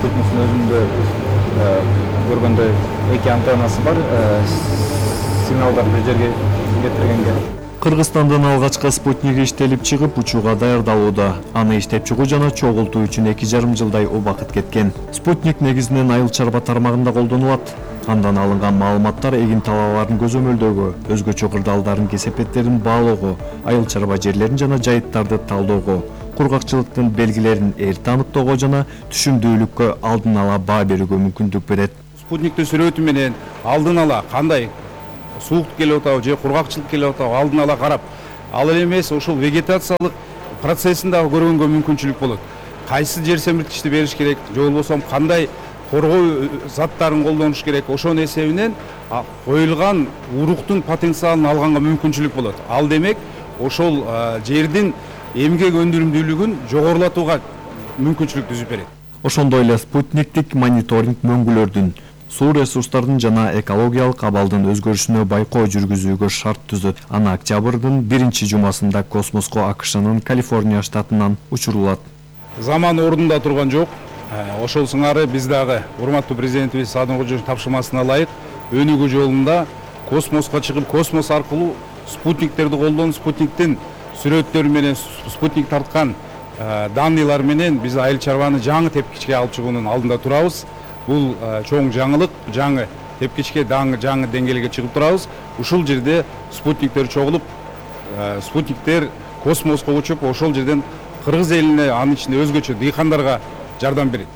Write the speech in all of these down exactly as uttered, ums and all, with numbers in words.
спутниктин өзүндө көргөндөй эки антеннасы бар, сигналдар бир жерге кетиргенге. Кыргызстандан алгачкы спутник иштелип чыгып, учууга даярдалууда. Аны иштеп чыгуу жана чогултуу үчүн эки жарым жылдай убакыт кеткен. Спутник негизинен айыл чарба тармагында колдонулат. Андан алынган маалыматтар эгин талааларын көзөмөлдөөгө, өзгөчө кырдаалдардын кесепеттерин баалоого, айыл чарба жерлерин жана жайыттарды талоого, кургакчылыктын белгилерин эрте аныктоого жана түшүмдүүлүккө алдын ала баа берүүгө мүмкүндүк берет. Спутниктин сүрөтү менен алдын ала кандай сууктук келип атабы же кургакчылык келип атабы алдын ала карап, ал эле эмес ушул вегетациялык процессин дагы көргөнгө мүмкүнчүлүк болот. Кайсы жер семирткичти бериш керек, же болбосо кандай коргоо заттарын колдонуш керек, ошонун эсебинен коюлган уруктун потенциалын алганга мүмкүнчүлүк болот. Ал демек ошол жердин эмгек өндүрүмдүүлүгүн жогорулатууга мүмкүнчүлүк түзүп берет. Ошондой эле спутниктик мониторинг мөңгүлөрдүн, суу ресурстардын жана экологиялык абалдын өзгөрүшүнө байкоо жүргүзүүгө шарт түзөт. Аны октябрдын биринчи жумасында космоско АКШнын Калифорния штатынан учурулат. Заман ордунда турган жок. Ошол сыңары биз дагы урматтуу президентибиз Садыр Кожоевдун тапшырмасына ылайык өнүгүү жолунда космоско чыгып, космос аркылуу спутниктерди колдонуп, спутниктин сүрөттөрү менен, спутник тарткан данныйлар менен биз айыл чарбаны жаңы тепкичке алып чыгуунун алдында турабыз. Бул чоң жаңылык, жаңы тепкичке жаңы деңгээлге чыгып турабыз. Ушул жерде спутниктер чогулуп, спутниктер космоско учуп, ошол жерден кыргыз элине, анын ичинде өзгөчө дыйкандарга жардам берет.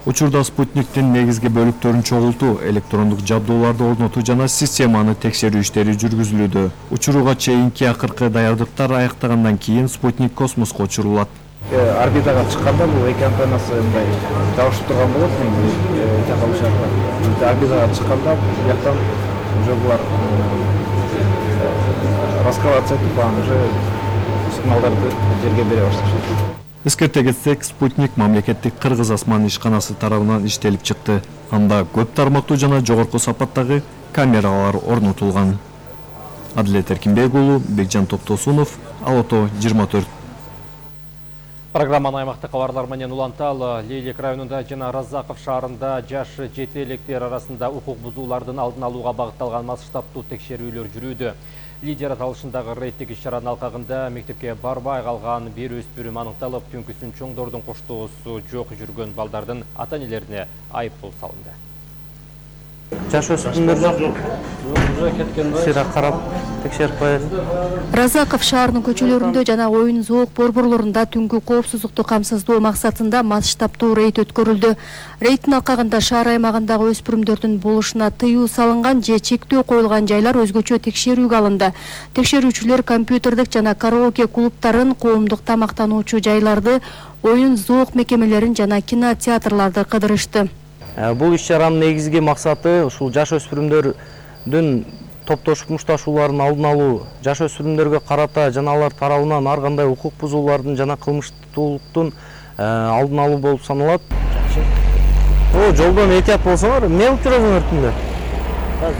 Учурда спутниктин негизги бөлүктөрүн чогултуу, электрондук жабдууларды орнотуу жана системаны текшерүү иштери жүргүзүлүүдө. Учурууга чейинки акыркы даярдыктар аяктагандан кийин спутник космоско учурулат. Орбитага чыкканда бул эки антеннасы мындай жабышып турган болот, такалышат. Орбитага чыкканда бияктан уже булар раскрываться этип, анан уже сигналдарды жерге бере башташат. Эскерте кетсек, спутник мамлекеттик Кыргыз асман ишканасы тарабынан иштелип чыкты. Анда көп тармактуу жана жогорку сапаттагы камералар орнотулган. Адилет Эркинбек уулу, Бекжан Токтосунов, Алото жыйырма төрт. Программаны аймактык кабарлар менен улантал. Лейлек районунда жана Разаков шаарында жаш жете электер арасында укук бузуулардын алдын алууга багытталган масштабтуу текшерүүлөр жүрүүдө. Лидер аталышындагы рейдтик иш-чаранын алкагында мектепке барбай калган бир өспүрүм аныкталып, түнкүсүн чоңдордун коштоосу жок жүргөн балдардын ата-энелерине айыппул салынды. Жаш өспүрүмдөр жок. Сыйра карап текшерип коет. Разаков шаарынын көчөлөрүндө жана оюн зоок борборлорунда түнгү коопсуздукту камсыздоо максатында масштабтуу рейд өткөрүлдү. Рейдтин алкагында шаар аймагындагы өспүрүмдөрдүн болушуна тыюу салынган же чектөө коюлган жайлар өзгөчө текшерүүгө алынды. Текшерүүчүлөр компьютердик жана караоке клубтарын, коомдук тамактануучу жайларды, оюн зоок мекемелерин жана кинотеатрларды кыдырышты. Бул иш-чаранын негизги максаты ушул жаш өспүрүмдөрдүн топтошуп мушташууларын алдын алуу, жаш өспүрүмдөргө карата жана алар тарабынан ар кандай укук бузуулардын жана кылмыштуулуктун алдын алуу болуп саналат. О, жолдон этият болсоңор, эмне кылып жүрөсүңөр түндө?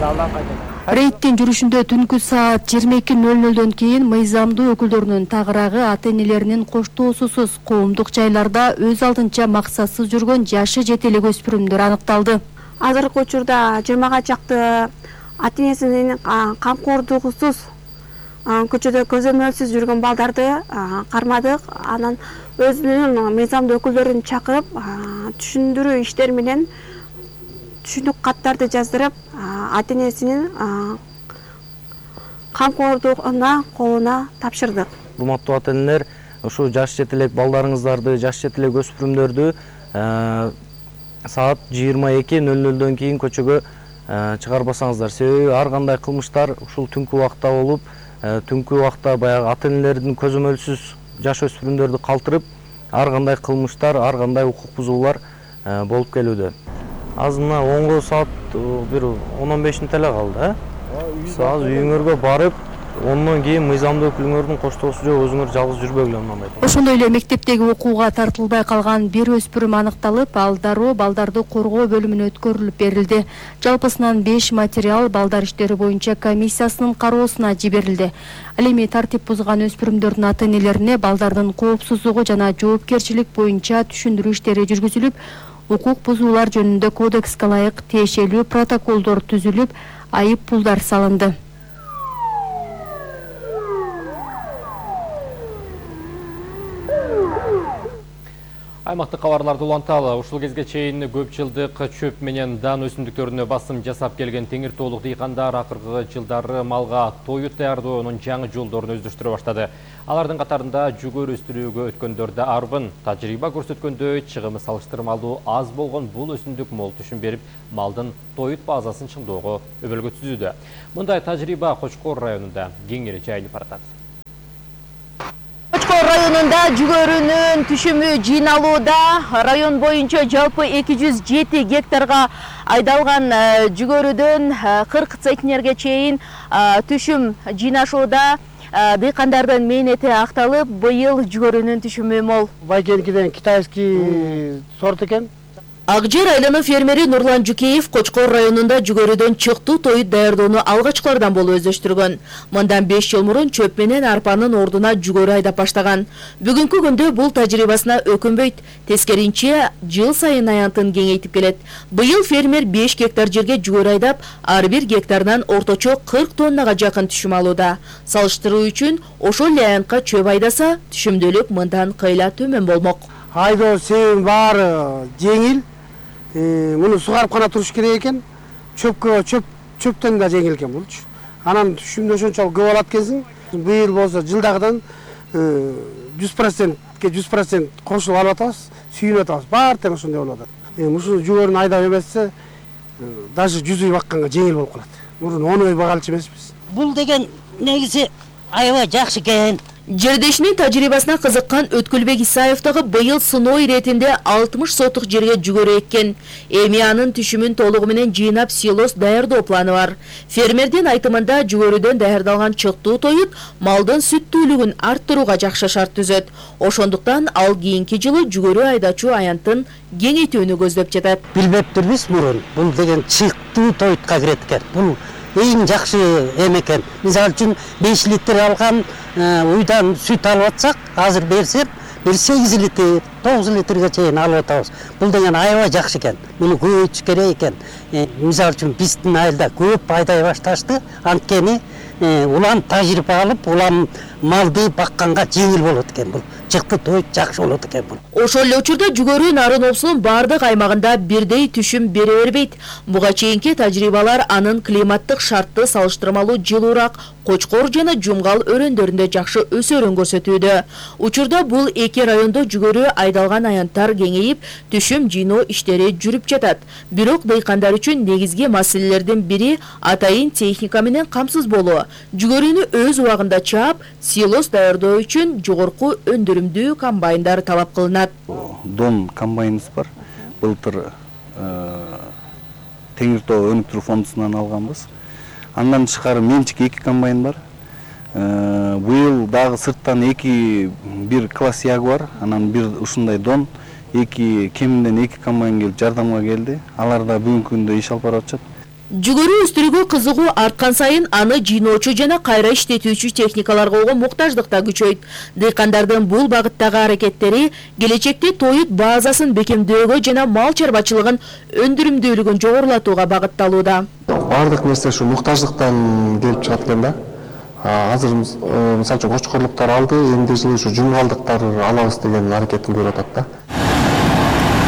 Залдан кайтат. Рейдтин жүрүшүндө түнкү саат жыйырма эки нөл нөлдөн кийин мыйзамдуу өкүлдөрүнүн тагыраагы ата-энелеринин коштоосусуз коомдук жайларда өз алдынча максатсыз жүргөн жашы жете элек өспүрүмдөр аныкталды. Азыркы учурда жыйырмага чакты ата-энесинин камкордугусуз көчөдө көзөмөлсүз жүргөн балдарды кармадык. Анан өзүнүн мыйзамдуу өкүлдөрүн чакырып, түшүндүрүү иштери менен түшүнүк каттарды жаздырып, ата-энесинин камкордугуна колуна тапшырдык. Урматтуу ата-энелер, ушу жаш жете элек балдарыңыздарды, жаш жете элек өспүрүмдөрдү саат жыйырма эки нөл нөлдөн кийин көчөгө чыгарбасаңыздар. Себеби ар кандай кылмыштар ушул түнкү убакта болуп, түнкү убакта баягы ата-энелердин көзөмөлсүз жаш өспүрүмдөрдү калтырып, ар кандай кылмыштар, ар кандай укук бузуулар болуп келүүдө. Азына онго саат бир он он беш мүнөт эле калды, э? Азыр үйүңөргө барып, Ондон кийин мыйзамдуу өкүлүңөрдүн коштоосу жок, өзүңөр жалгыз жүрбөгүлө мындай. Ошондой эле мектептеги окууга тартылбай калган бир өспүрүм аныкталып, ал дароо балдарды коргоо бөлүмүнө өткөрүлүп берилди. Жалпысынан беш материал балдар иштери боюнча комиссиясынын кароосуна жиберилди. Ал эми тартип бузган өспүрүмдөрдүн ата-энелерине балдардын коопсуздугу жана жоопкерчилик боюнча түшүндүрүү иштери жүргүзүлүп, укук бузуулар жөнүндө кодекске ылайык тиешелүү протоколдор түзүлүп, айып пулдар салынды. Аймактык кабарларды уланталы. Ушул кезге чейин көп жылдык чөп менен дан өсүмдүктөрүнө басым жасап келген Теңир тоолук дыйкандар акыркы жылдары малга тоют даярдоонун жаңы жолдорун өздөштүрө баштады. Алардын катарында жүгөр өстүрүүгө өткөндөр да арбын. Тажрыйба көрсөткөндөй, чыгымы салыштырмалуу аз болгон бул өсүмдүк мол түшүм берип, малдын тоют базасын чыңдоого өбөлгө түзүүдө. Мындай тажрыйба Кочкор районунда кеңири жайылып баратат. Кочкор районунда жүгөрүнүн түшүмү жыйналууда. Район боюнча жалпы эки жүз жети гектарга айдалган жүгөрүдөн кырк центнерге чейин түшүм жыйнашууда. Дыйкандардын мээнети акталып, быйыл жүгөрүнүн түшүмү мол. Байкенкиден китайский сорт экен. Акжер айлануу фермери Нурлан Жукеев Кочкор районунда жүгөрүдөн чыктуу тоют даярдоону алгачкылардан болуп өздөштүргөн. Мындан беш жыл мурун чөп менен арпанын ордуна жүгөрү айдап баштаган. Бүгүнкү күндө бул тажрыйбасына өкүнбөйт. Тескеринче жыл сайын аянтын кеңейтип келет. Быйыл фермер беш гектар жерге жүгөрү айдап, ар бир гектарынан орточо кырк тоннага жакын түшүм алууда. Салыштыруу үчүн ошол эле аянтка чөп айдаса, түшүмдүүлүк мындан кыйла төмөн болмок. Айдоо себебин баары жеңил. Муну сугарып гана туруш керек экен. Чөпкө чөп чөптөн да жеңил экен булчу. Анан түшүмдө ошончолук көп алат экенсиң. Быйыл болсо жылдагыдан жүз процентке жүз процент кошулуп алып атабыз, сүйүнүп атабыз. Баары тең ошондой болуп атат. Ушул жүгөрүн айдап эмесе, даже жүз үй бакканга жеңил болуп калат. Мурун он үй багалчы эмеспиз. Бул деген негизи аябай жакшы экен. Жердешинин тажрыйбасына кызыккан Өткүлбек Исаев дагы быйыл сыноо иретинде алтымыш сотук жерге жүгөрү эккен. Эми анын түшүмүн толугу менен жыйнап силос даярдоо планы бар. Фермердин айтымында жүгөрүдөн даярдалган чыктуу тоют малдын сүттүүлүгүн арттырууга жакшы шарт түзөт. Ошондуктан ал кийинки жылы жүгөрү айдачу аянтын кеңейтүүнү көздөп жатат. Билбептирбиз мурун. Бул деген чыктуу тоютка кирет экен. Бул эң жакшы эме экен. Мисалы үчүн беш литр алган уйдан сүт алып атсак, азыр берсем, бир сегиз литр, тогуз литрге чейин алып атабыз. Бул деген аябай жакшы экен. Муну көбөйтүш керек экен. Мисалы үчүн биздин айылда көп айдай башташты. Анткени улам тажрыйба алып, улам малды бакканга жеңил болот экен бул. Чыкты тоют жакшы болот экен бул. Ошол эле учурда жүгөрү нарын обсунун бардык аймагында бирдей түшүм бере бербейт. Буга чейинки тажрыйбалар анын климаттык шартты салыштырмалуу жылуураак Кочкор жана Жумгал өрөндөрүндө жакшы өсөрүн көрсөтүүдө. Учурда бул эки райондо жүгөрү айдалган аянттар кеңейип, түшүм жыйноо иштери жүрүп жатат. Бирок дыйкандар үчүн негизги маселелердин бири атайын техника менен камсыз болуу. Жүгөрүнү өз убагында чаап, силос даярдоо үчүн жогорку өндүрүмдүү комбайндар талап кылынат. Дон комбайныбыз бар. Былтыр Теңир тоо өнүктүрүү фондунан алганбыз. Андан тышкары менчик эки комбайн бар. Быйыл дагы сырттан эки бир класс Ягуар, анан бир ушундай Дон, эки кеминден эки комбайн келип жардамга келди. Алар да бүгүнкү күндө иш алып барып атышат. Жүгөрү өстүрүүгө кызыгуу арткан сайын аны жыйноочу жана кайра иштетүүчү техникаларга болгон муктаждык да күчөйт. Дыйкандардын бул багыттагы аракеттери келечекте тоют базасын бекемдөөгө жана мал чарбачылыгын өндүрүмдүүлүгүн жогорулатууга багытталууда. Бардык нерсе ушу муктаждыктан келип чыгат экен да. Азыр мисалы үчүн Кочкорлуктар алды, эмди жылы ушу жумгалдыктар алабыз деген аракетин көрүп атат да.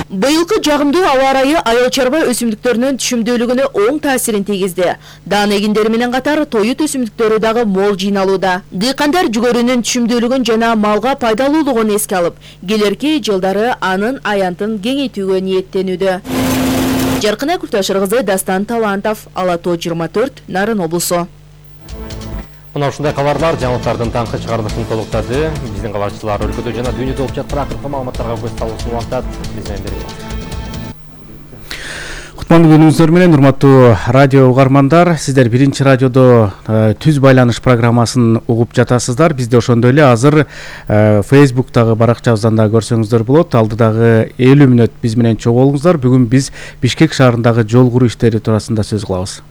Быйылкы жагымдуу аба ырайы айыл чарба өсүмдүктөрүнүн түшүмдүүлүгүнө оң таасирин тийгизди. Дан эгиндери менен катар тоют өсүмдүктөрү дагы мол жыйналууда. Дыйкандар жүгөрүнүн түшүмдүүлүгүн жана малга пайдалуулугун эске алып, келерки жылдары анын аянтын кеңейтүүгө ниеттенүүдө. Жаркына Күлташыр кызы, Дастан Талантов, Ала тоо жыйырма төрт, Нарын облусу. Мына ушундай кабарлар жаңылыктардын таңкы чыгарылышын толуктады. Биздин кабарчылар өлкөдө жана дүйнөдө болуп жаткан акыркы маалыматтарга көз салуусун улантат. Биз менен бирге болуңуздар. Кутмандуу күнүңүздөр менен урматтуу радио угармандар, сиздер биринчи радиодо түз байланыш программасын угуп жатасыздар. Бизде ошондой эле азыр Facebook'тагы баракчабыздан да көрсөңүздөр болот. Алдыдагы элүү мүнөт биз менен чогуу болуңуздар. Бүгүн биз Бишкек шаарындагы жол куруу иштери туурасында сөз кылабыз.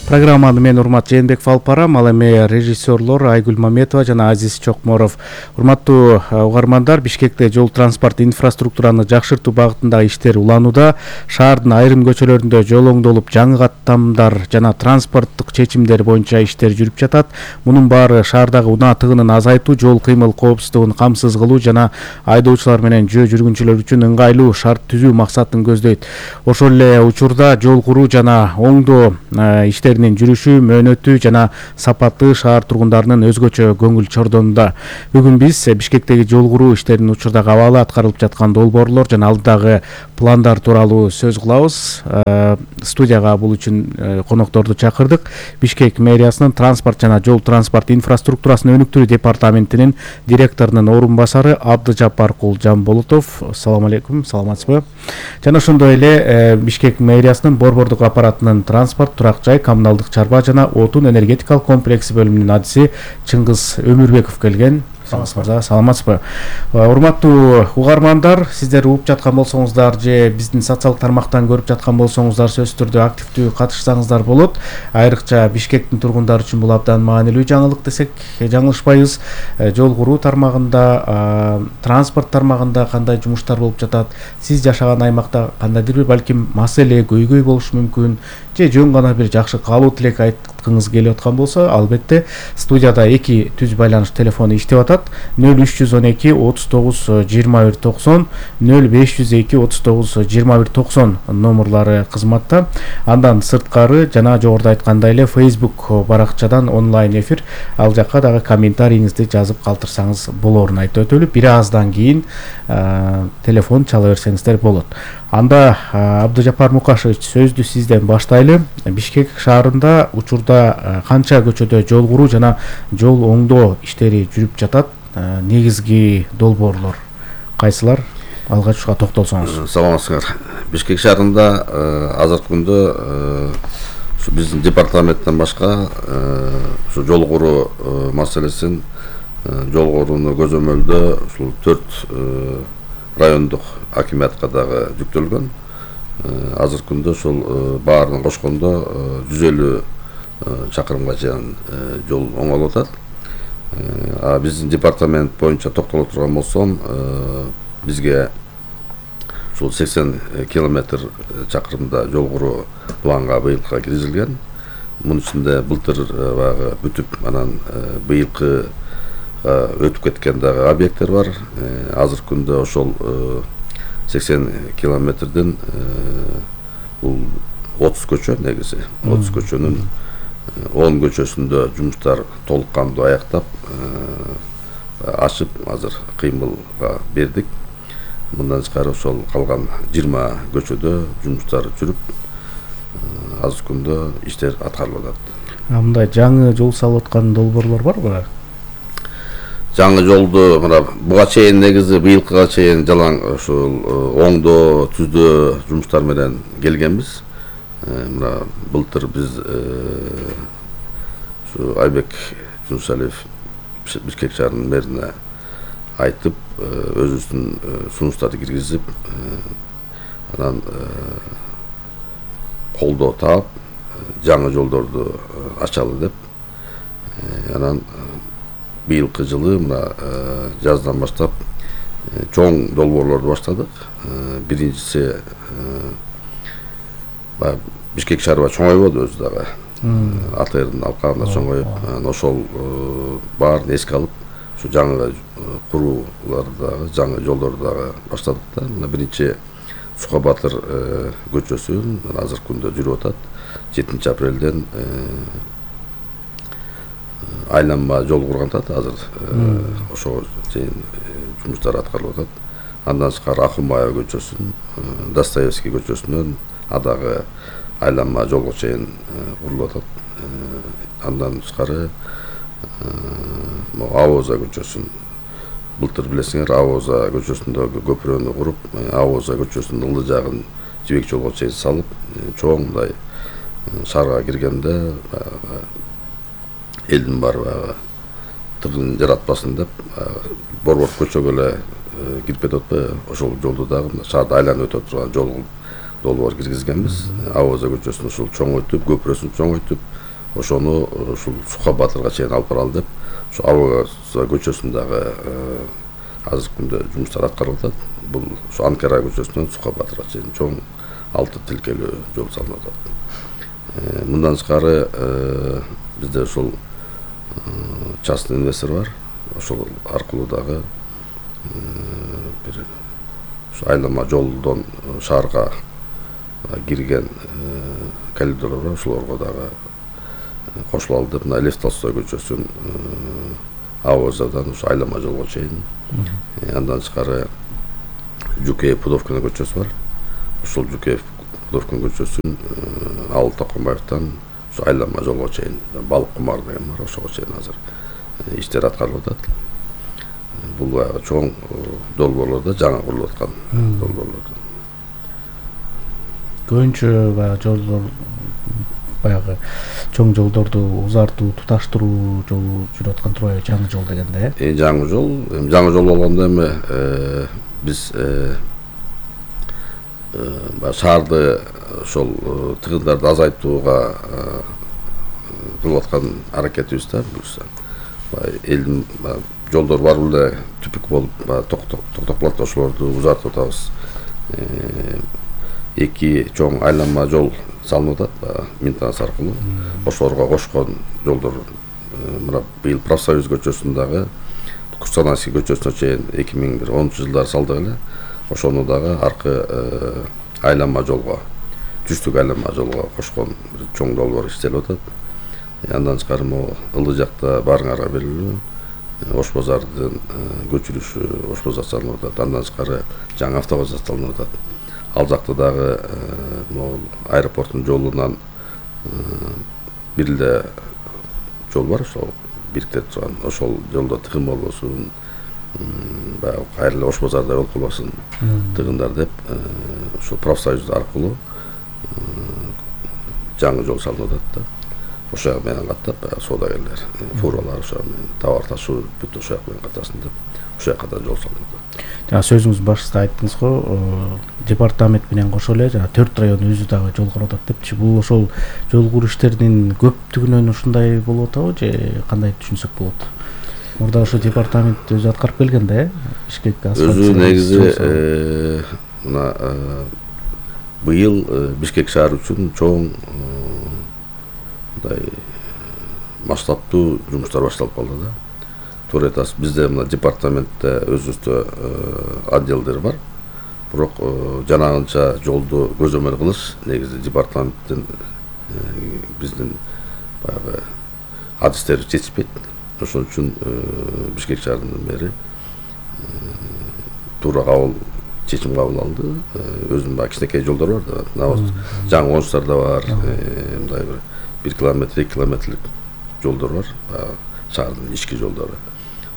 Программаны мен Урмат Жээнбеков алып барам, ал эми режиссерлор Айгүл Маметова жана Азиз Чокморов. Урматтуу угармандар, Бишкекте жол транспорт инфраструктураны жакшыртуу багытындагы иштер уланууда. Шаардын айрым көчөлөрүндө жол оңдолуп, жаңы каттамдар жана транспорттук чечимдер боюнча иштер жүрүп жатат. Мунун баары шаардагы унаа тыгынын азайтуу, жол кыймыл коопсуздугун камсыз кылуу жана айдоочулар менен жөө жүргүнчүлөр үчүн ыңгайлуу шарт түзүү максатын көздөйт. Ошол эле учурда жол куруу жана оңдоо иштер жүрүшү, мөөнөтү жана сапаты шаар тургундарынын өзгөчө көңүл чордонунда. Бүгүн биз Бишкектеги жол куруу иштеринин учурдагы абалы, аткарылып жаткан долбоорлор жана алдыдагы пландар тууралуу сөз кылабыз. Студияга бул үчүн конокторду чакырдык. Бишкек мэриясынын транспорт жана жол транспорт инфраструктурасын өнүктүрүү департаментинин директорунун орун басары Абдыжаппаркул Жамболотов. Салам алейкум, саламатсызбы? Жана ошондой эле Бишкек мэриясынын борбордук аппаратынын транспорт, турак жай, коммуналдык чарба жана отун энергетикалык комплекси бөлүмүнүн адиси Чыңгыз Өмүрбеков келген. Саламатсызбы? Урматтуу угармандар, сиздер угуп жаткан болсоңуздар же биздин социалдык тармактан көрүп жаткан болсоңуздар, сөзсүз түрдө активдүү катышсаңыздар болот. Айрыкча Бишкектин тургундары үчүн бул абдан маанилүү жаңылык десек жаңылышпайбыз. Жол куруу тармагында, транспорт тармагында кандай жумуштар болуп жатат? Сиз жашаган аймакта кандайдыр бир балким маселе, көйгөй болушу мүмкүн, же жөн гана бир жакшы каалоо тилек айткыңыз келип аткан болсо, албетте студияда эки түз байланыш телефону иштеп атат. нөл үч жүз он эки отуз тогуз жыйырма бир токсон, нөл беш жүз эки отуз тогуз жыйырма бир токсон номерлары кызматта. Андан сырткары жана жогоруда айткандай эле Facebook баракчадан онлайн эфир, ал жакка дагы комментарийиңизди жазып калтырсаңыз болоорун айтып өтөлүп, бир аздан кийин телефон чала берсеңиздер болот. Анда Абдыжаппар Мукашевич, сөздү сизден баштайлы. Бишкек шаарында учурда канча көчөдө жол куруу жана жол оңдоо иштери жүрүп жатат? Негизги долбоорлор кайсылар? Алгач ушуга токтолсоңуз. Саламатсыздар. Бишкек шаарында азыркы күндө ушу биздин департаменттен башка ушу жол куруу маселесин, жол курууну көзөмөлдөө ушул төрт райондук акимиятка дагы жүктөлгөн. Азыркы күндө ошол баарын кошкондо жүз элүү чакырымга чейин жол оңолуп атат. А биздин департамент боюнча токтоло турган болсом, бизге ушул сексен километр чакырымда жол куруу планга быйылга киргизилген. Мунун ичинде былтыр баягы бүтүп, анан быйылкы өтүп кеткен дагы объекттер бар. Азыркы күндө ошол сексен километрден бул отуз көчө негизи. отуз көчөнүн он көчөсүндө жумуштар толук кандуу аяктап, ачып азыр кыймылга бердик. Мындан тышкары ошол калган жыйырма көчөдө жумуштар жүрүп, азыркы күндө иштер аткарылып атат. Мындай жаңы жол салып аткан долбоорлор барбы? Жаңы жолду мына буга чейин негизи быйылкыга чейин жалаң ушул оңдоо, түздөө жумуштар менен келгенбиз. Мына былтыр биз ушу Айбек Жунусалиев Бишкек шаарынын мэрине айтып, өзүбүздүн сунуштарды киргизип, анан колдоо таап, жаңы жолдорду ачалы деп, анан быйылкы жылы мына жаздан баштап чоң долбоорлорду баштадык. Биринчиси Бишкек шаарыбай чоңойбоду өзү дагы. АТРдин алкагында чоңоюп, ошол баарын эске алып, ушу жаңы курууларды дагы, жаңы жолдорду дагы баштадык да. Мына биринчи Сука Батыр көчөсүн азыркы күндө жүрүп атат. жетинчи апрелден айланма жол курган атат. Азыр ошого чейин жумуштар аткарылып атат. Андан тышкары Акылмаева көчөсүн, Достоевский көчөсүнөн адагы айланма жолго чейин курулуп атат. Андан тышкары Авоза көчөсүн былтыр билесиңер Авоза көчөсүндөгү көпүрөнү куруп, Авоза көчөсүнүн ылдый жагын жибек жолго чейин салып, чоң мындай шаарга киргенде баягы элдин баары баягы тыгын жаратпасын деп борбор көчөгө эле кирип кетип атпайбы, ошол жолду дагы шаарды айланып өтө турган жол долбоор киргизгенбиз. Авоза көчөсүн ушул чоңойтуп, көпүрөсүн чоңойтуп, ошону ушул Сука Батырга чейин алып баралы деп, ошо Авоза көчөсүн дагы азыркы күндө жумуштар аткарылып атат. Бул ушу Анкара көчөсүнөн Сука Батырга чейин чоң алты тилкелүү жол салынып атат. Мындан тышкары бизде ушул частный инвестор бар. Ошол аркылуу дагы бир ушу айлама жолдон шаарга кирген коридорлор бар, ошолорго дагы кошулалы деп, мына Лев Толстой көчөсүн Авозадан ушу айлама жолго чейин, андан тышкары Жукеев Пудовкина көчөсү бар. Ошол Жукеев Пудовкина көчөсүн Алып Токомбаевден ушу айлама жолго чейин, Балык кумар деген бар, ошого чейин азыр иштер аткарылып атат. Бул баягы чоң долбоорлордо жаңы курулуп аткан долбоорлор. Көбүнчө баягы жолдор, баягы чоң жолдорду узартуу, туташтыруу жолу жүрүп аткан турбайбы, жаңы жол дегенде? Э, жаңы жол, жаңы жол болгондо эми биз шаарды ошол тыгындарды азайтууга кылып аткан аракетибиз да. Элдин жолдор бар эле түпүк болуп токтоп калат, ошолорду узартып атабыз. Эки чоң айланма жол салынып атат, Минтранс аркылуу. Ошолорго кошкон жолдор мына быйыл Профсоюз көчөсүн дагы Кустанайский көчөсүнө чейин эки миң онунчу жылдары салдык эле. Ошону дагы аркы айланма жолго, түштүк айланма жолго кошкон чоң долбоор иштелип атат. Андан тышкары могу ылдый жакта баарыңарга белгилүү Ош базардын көчүрүшү, Ош базар салынып атат. Андан тышкары жаңы автобазар салынып атат. Ал жакта дагы могу аэропорттун жолунан бир эле жол бар, ошол бириктирип турган. Ошол жолдо тыгын болбосун, баягы кайра эле Ош базарда болуп калбасын тыгындар деп, ошол Профсоюз аркылуу жаңы жол салынып атат да. Ошол жак менен каттап, соодагерлер, фуралар ошо менен товар ташуу бүт ошол жак менен каттасын деп, ошол жака да жол салынып атат. Жана сөзүңүз башында айттыңыз го, департамент менен кошо эле жана төрт район өзү дагы жол куруп атат депчи. Бул ошол жол куруу иштеринин көптүгүнөн ушундай болуп атабы же кандай түшүнсөк болот? Мурда ошо департамент өзү аткарып келген да, э? Бишкек асфальт. Өзү негизи мына быйыл Бишкек шаары үчүн чоң мындай масштабтуу жумуштар башталып калды да. Туура айтасыз, бизде мына департаментте өзүбүздө отделдер бар. Бирок жанагынча жолду көзөмөл кылыш негизи департаменттин биздин баягы адистери чечпейт. Ошон үчүн Бишкек шаарынын мэри туура кабыл чечим кабыл алды. Өзүнүн баягы кичинекей жолдор бар да. Жаңы Ончтарда бар, мындай бир бир километр, эки километрлик жолдор бар, шаардын ички жолдору.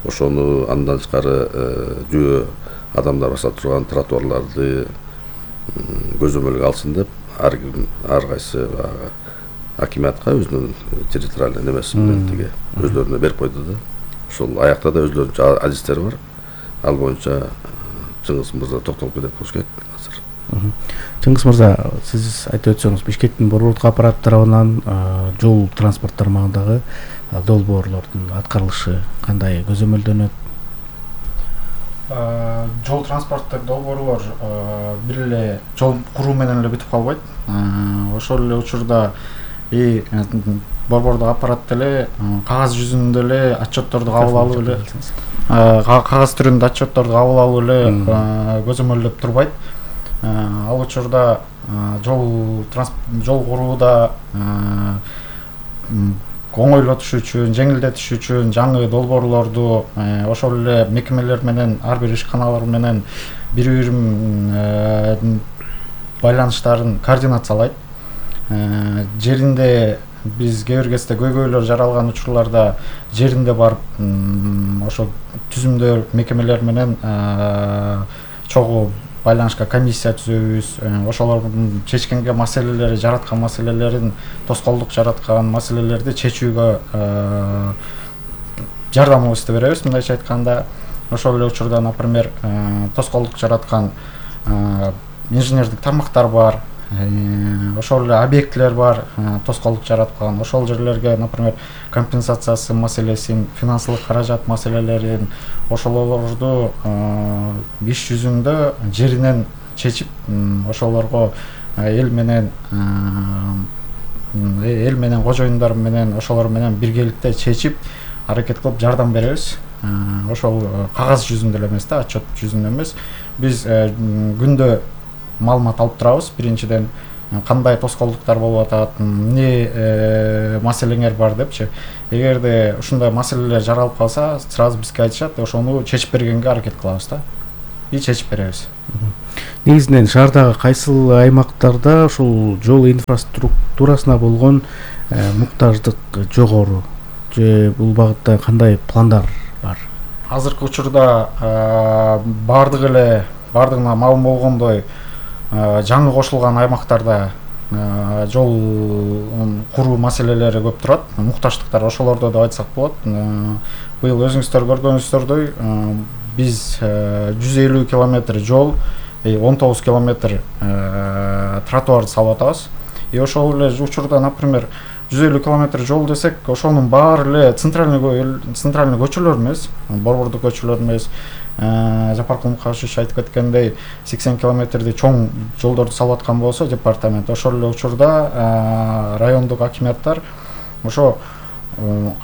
Ошону андан тышкары жөө адамдар баса турган тротуарларды көзөмөлгө алсын деп, ар ким ар кайсы баягы акимиатка өзүнүн территориальный немеси менен тиги өздөрүнө берип койду да. Ошол аякта да өздөрүнчө адистер бар. Ал боюнча Чыңгыз мырза токтолуп кетет болуш керек азыр. Чыңгыз мырза, сиз айтып өтсөңүз, Бишкектин борбордук аппарат тарабынан жол транспорт тармагындагы долбоорлордун аткарылышы кандай көзөмөлдөнөт? Жол транспорттук долбоорлор бир эле жол куруу менен эле бүтүп калбайт. Ошол эле учурда и борбордук аппарат деле кагаз жүзүндө эле отчетторду кабыл алып эле, кагаз түрүндө отчетторду кабыл алып эле көзөмөлдөп турбайт. Ал учурда жол жол курууда оңойлотуш үчүн, жеңилдетиш үчүн жаңы долбоорлорду ошол эле мекемелер менен, ар бир ишканалар менен бири-бири байланыштарын координациялайт. Жеринде биз кээ бир кезде көйгөйлөр жаралган учурларда жеринде барып ошо түзүмдөр мекемелер менен чогуу байланышка комиссия түзөбүз. Ошолордун чечкенге маселелери, жараткан маселелерин, тоскоолдук жараткан маселелерди чечүүгө жардамыбызды беребиз. Мындайча айтканда, ошол эле учурда, например, тоскоолдук жараткан инженердик тармактар бар, ошол эле объектилер бар, тоскоолдук жараткан. Ошол жерлерге, например, компенсациясы маселесин, финансылык каражат маселелерин, ошолорду иш жүзүндө жеринен чечип, ошолорго эл менен эл менен кожоюндар менен ошолор менен биргеликте чечип аракет кылып жардам беребиз. Ошол кагаз жүзүндө эле эмес да, отчет жүзүндө эмес. Биз күндө маалымат алып турабыз. Биринчиден кандай тоскоолдуктар болуп атат, эмне маселеңер бар депчи. Эгерде ушундай маселелер жаралып калса, сразу бизге айтышат, ошону чечип бергенге аракет кылабыз да. И чечип беребиз. Негизинен шаардагы кайсыл аймактарда ушул жол инфраструктурасына болгон муктаждык жогору? Же бул багытта кандай пландар бар? Азыркы учурда бардык эле бардыгына маалым болгондой жаңы кошулган аймактарда жол куруу маселелери көп турат. Мукташтыктар ошолордо деп айтсак болот. Быйыл өзүңүздөр көргөнүңүздөрдөй биз жүз элүү километр жол, он тогуз километр тротуар салып атабыз. И ошол эле учурда, например, жүз элүү километр жол десек, ошонун баары эле центральный центральный көчөлөр эмес, борбордук көчөлөр эмес. Жапаркул Мукашевич айтып кеткендей, сексен километрди чоң жолдорду салып аткан болсо департамент, ошол эле учурда райондук акиматтар ошо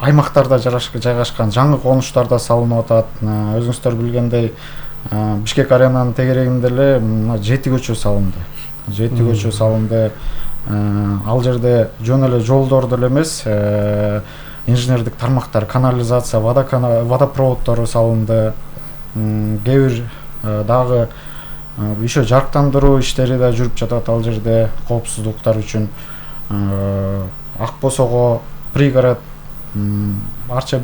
аймактарда жайгашкан жаңы конуштарда салынып атат. Өзүңүздөр билгендей, Бишкек аренанын тегерегинде эле жети көчө салынды. жети көчө салынды. Ал жерде жөн эле жолдорду эле эмес, инженердик тармактар, канализация, водопроводдору салынды. Кээ бир дагы еще жарыктандыруу иштери да жүрүп жатат ал жерде коопсуздуктар үчүн. Ак Босого, Пригород, Арча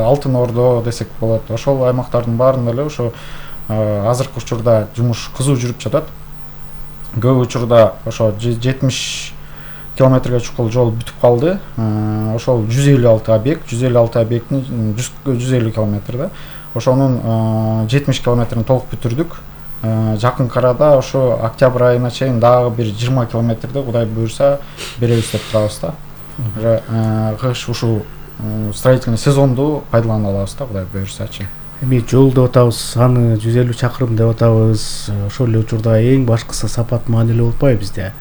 Алтын Ордо десек болот. Ошол аймактардын баарында эле ошо азыркы учурда жумуш кызуу жүрүп жатат. Көп учурда ошо жетимиш километрге чукул жол бүтүп калды. Ошол жүз элүү алты объект, жүз элүү алты объекттин жүз элүү километр да. Ошонун жетимиш километрин толук бүтүрдүк. Жакынкы арада ошо октябрь айына чейин дагы бир жыйырма километрди Кудай буюрса беребиз деп турабыз да. Кыш ушул строительный сезонду пайдалана алабыз да, Кудай буюрсачы. Эми жол деп атабыз, аны жүз элүү чакырым деп атабыз. Ошол эле учурда эң башкысы сапат маанилүү болуп атпайбы бизде?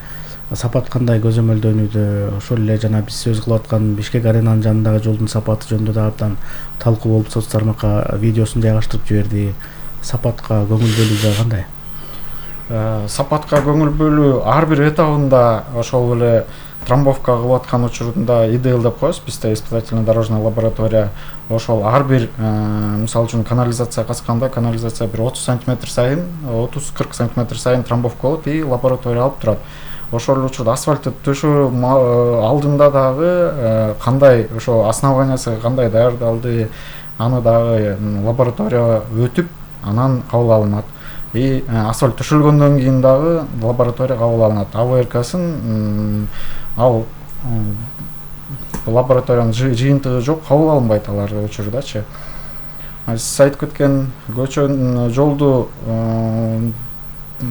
Сапат кандай көзөмөлдөнүүдө? Ошол эле жана биз сөз кылып аткан Бишкек аренанын жанындагы жолдун сапаты жөнүндө да абдан талкуу болуп, соц тармакка видеосун жайгаштырып жиберди. Сапатка көңүл бөлүү кандай? Сапатка көңүл бөлүү ар бир этабында ошол эле трамбовка кылып аткан учурунда и ди эл деп коебуз, бизде испытательно дорожная лаборатория. Ошол ар бир, мисалы үчүн, канализация касканда канализация бир отуз сантиметр сайын, отуз кырк сантиметр сайын трамбовка болот и лаборатория алып турат. Ошол эле учурда асфальтты төшөө алдында дагы кандай ошо основаниясы кандай даярдалды, аны дагы лаборатория өтүп, анан кабыл алынат. И асфальт төшөлгөндөн кийин дагы лаборатория кабыл алынат. А В Рксын ал лабораториянын жыйынтыгы жок, кабыл алынбайт алар учурдачы. Сиз айтып кеткен көчөнүн жолду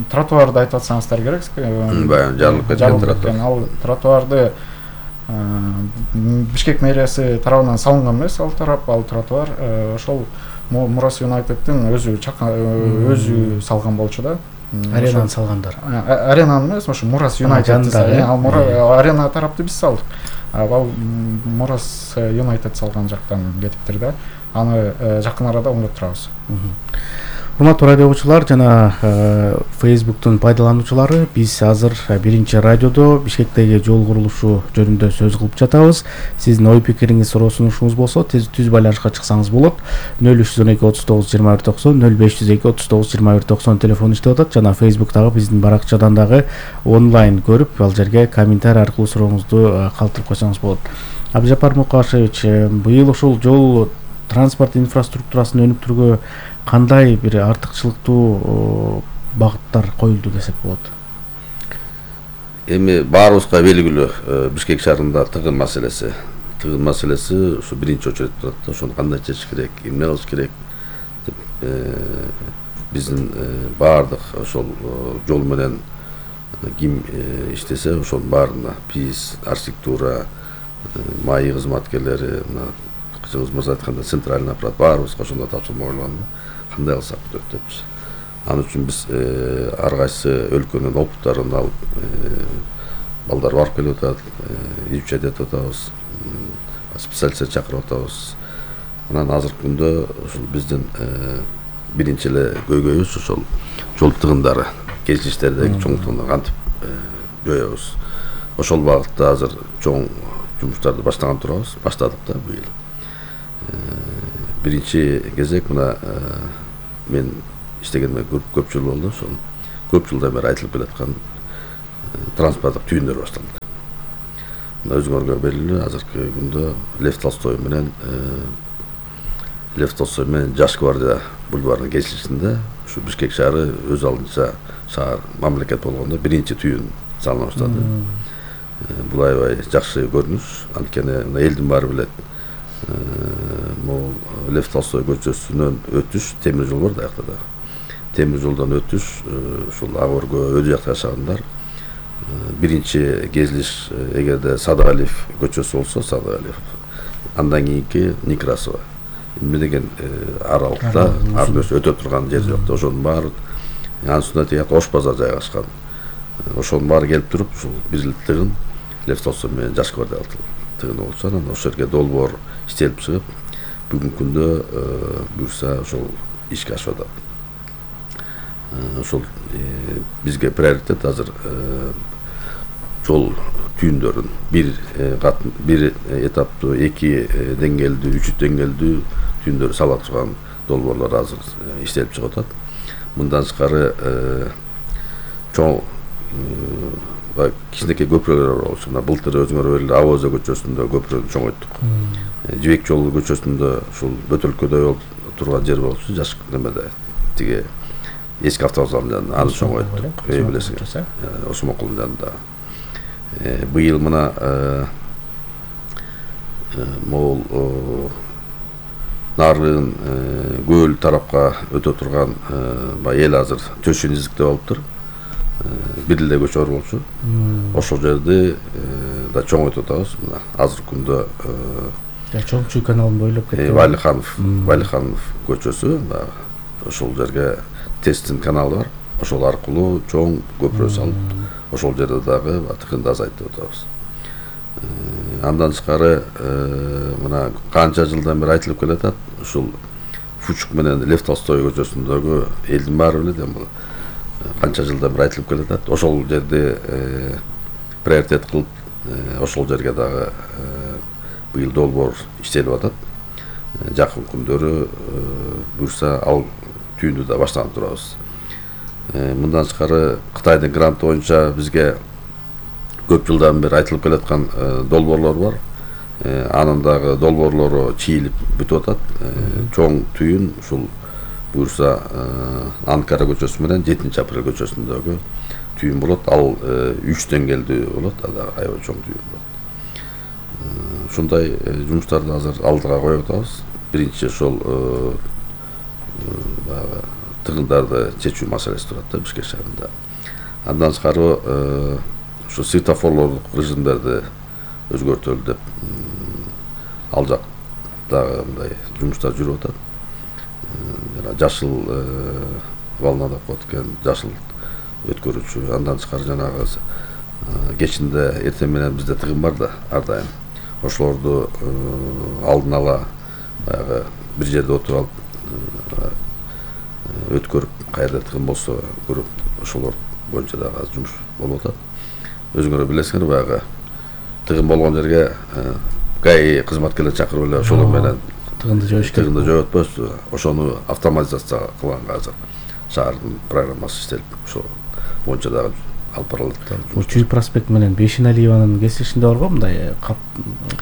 тротуарды айтып атсаңыздар керек. Баягы жарылып кеткен тротуар. Ал тротуарды Бишкек мэриясы тарабынан салынган эмес, ал тарап, ал тротуар ошол Мурас Юнайтеддин өзү өзү салган болчу да. Аренаны салгандар. Аренаны эмес, ошо Мурас Юнайтед. Ал арена тарапты биз салдык. Ал Мурас Юнайтед салган жактан кетиптир да. Аны жакын арада оңдоп турабыз. Урматтуу радио угуучулар жана Facebooktун пайдалануучулары, биз азыр биринчи радиодо Бишкектеги жол курулушу жөнүндө сөз кылып жатабыз. Сиздин ой пикириңиз, суроо сунушуңуз болсо, түз байланышка чыксаңыз болот. нөл үч жүз он эки отуз тогуз жыйырма бир токсон, нөл беш жүз эки отуз тогуз жыйырма бир токсон телефон иштеп атат жана Facebooktагы биздин баракчадан дагы онлайн көрүп, ал жерге комментарий аркылуу сурооңузду калтырып койсоңуз болот. Абдыжапар Мукашевич, быйыл ушул жол транспорт инфраструктурасын өнүктүрүүгө кандай бир артыкчылыктуу багыттар коюлду десек болот? Эми баарыбызга белгилүү Бишкек шаарында тыгын маселеси. Тыгын маселеси ушу биринчи очередде турат да, ошону кандай чечиш керек, эмне кылыш керек деп биздин баардык ошол жол менен ким иштесе ошонун баарына ПИС, архитектура, маи кызматкерлери, мына кызыңыз мырза айткандай центральный аппарат баарыбызга ошондой тапшырма коюлган. Кандай кылсак болот депчи. Ал үчүн биз ар кайсы өлкөнүн опыттарын алып, балдар барып келип атат, изучать этип атабыз, специалисттер чакырып атабыз. Анан азыркы күндө ушул биздин биринчи эле көйгөйүбүз ошол жол тыгындары, кесилиштердеги чоңдуктугун кантип жоебуз. Ошол багытта азыр чоң жумуштарды баштаган турабыз, баштадык да быйыл. Биринчи кезек мына мен иштегениме көп жыл болду, ошол көп жылдан бери айтылып келаткан транспорттук түйүндөр башталды. Мына өзүңөргө белгилүү, азыркы күндө Лев Толстой менен Лев Толстой менен Жаш гвардия бульварынын кесилишинде ушу Бишкек шаары өз алдынча шаар, мамлекет болгондо биринчи түйүн салына баштады. Бул аябай жакшы көрүнүш, анткени элдин баары билет. Могул Лев Толстой көчөсүнөн өтүш, темир жол бар да жакта да. Темир жолдон өтүш, ушул ак өргө өдү жакта жашагандар биринчи кезилиш эгерде Садыгалиев көчөсү болсо, Садыгалиев. Андан кийинки Некрасова. Эмне деген аралыкта ар-бөс өтө турган жер жок да, ошонун баары анын үстүнө тият Ош базар жайгашкан. Ошонун баары келип туруп, ушул бирликтигин Лев Толстой менен Жаш гвардия тыгыны болчу, анан ошол жерге долбоор иштелип чыгып, бүгүнкү күндө буюрса ошол ишке ашып атат. Ошол бизге приоритет азыр жол түйүндөрүн бир бир этаптуу, эки деңгээлдүү, үч деңгээлдүү түйүндөр сала турган долбоорлор азыр иштелип чыгып атат. Мындан тышкары чоң кичинекей көпүрөлөр болчу. Мына былтыр өзүңөр белгилүү Авоза көчөсүндө көпүрөнү чоңойттук. Жибек жолу көчөсүндө ушул Бөтөлкөдөй турган жер болчу, жаш немеде тиги эски автобустардын жанында аны чоңойттук. Үй билесиңер. Осмонкулдун жанында. Быйыл мына могул нарыгын көл тарапка өтө турган эл азыр төшүн изиктеп алыптыр. Бир эле көчө бар болчу. Ошол жерди да чоңойтуп атабыз. Мына азыркы күндө Чоңчу каналын бойлоп кетти. Валиханов, Валиханов көчөсү, ошол жерге Тестин каналы бар. Ошол аркылуу чоң көпүрө салып, ошол жерде дагы тыгынды азайтып атабыз. Андан тышкары мына канча жылдан бери айтылып келатат, ушул Фучук менен Лев Толстой көчөсүндөгү элдин баары билет эми бул канча жылдан бери айтылып келатат. Ошол жерди приоритет кылып, ошол жерге дагы быйыл долбоор иштелип атат. Жакын күндөрү буюрса ал түйүндү да баштаган турабыз. Мындан тышкары Кытайдын гранты боюнча бизге көп жылдан бери айтылып келаткан долбоорлор бар. Анын дагы долбоорлору чийилип бүтүп атат. Чоң түйүн ушул буюрса Анкара көчөсү менен жетинчи апрель көчөсүндөгү түйүн болот. Ал үч деңгээлдүү болот, ада аябай чоң түйүн болот. Ушундай жумуштарды азыр алдыга коюп атабыз. Биринчи ошол баягы тыгындарды чечүү маселеси турат да Бишкек шаарында. Андан тышкары ушу светофорлордук режимдерди өзгөртөлү деп ал жактагы мындай жумуштар жүрүп атат. Жана жашыл волна деп коет экен, жашыл өткөрүүчү. Андан тышкары жанагы кечинде эртең менен бизде тыгын бар да, ар дайым. Ошолорду алдын ала баягы бир жерде отуруп алып өткөрүп каерде тыгын болсо көрүп ошолор боюнча дагы азыр жумуш болуп атат. Өзүңөр билесиңер, баягы тыгын болгон жерге ГАИ кызматкерлер чакырып эле ошолор менен тыгынды жоюш керек. Тыгынды жоюп атпайбызбы? Ошону автоматизация кылганга азыр шаардын программасы иштелип, ошол боюнча дагы алып барылат да. Чүй проспект менен Бейшеналиеванын кесилишинде бар го мындай